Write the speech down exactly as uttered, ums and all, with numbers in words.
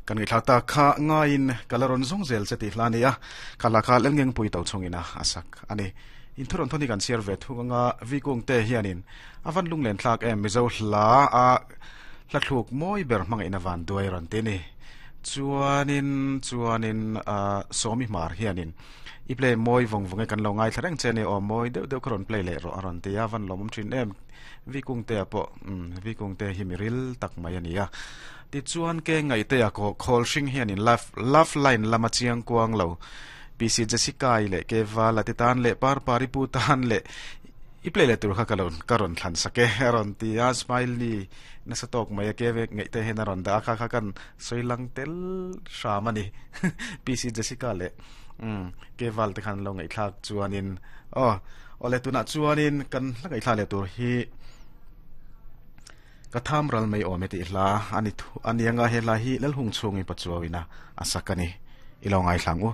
Kan ngi thlata kha ngain kalaron zong zel che ti hlania khala kha lengeng pui to chungina asak ani in thuron thoni kan share ve thunga vi kung te hianin avan lunglen thlak em mizo hla a hla thluk moi ber hmanga ina van duai ron te ni chuanin chuanin a somi mar hianin i play moi vong vonge kan lo ngai thlareng che ni o moi deuh deuh kharon play le ro aron te a van lomom thin em vi kung te apo vi kung te hi miril tak mai ania ti chuan ke ngai te a ko khol hring hianin love love line lama chiang kuang lo P C Jessica i le ke wala ti tan le par pari pu tan le i play le tur kha kalon karon thlan sake aron ti a smiley na sa tok mai ke ve ngai te hen aron da kha kha kan soilang tel shamani P C Jessica le um ke wal te khan lo ngai thlak chuanin oh ole tuna chuanin kan hla ngai thla le tur hi ka tham ral mai awm e ti hla ani thu ani anga he la hi lal hung chungi pachuawina asakani ilo ngai thlang u.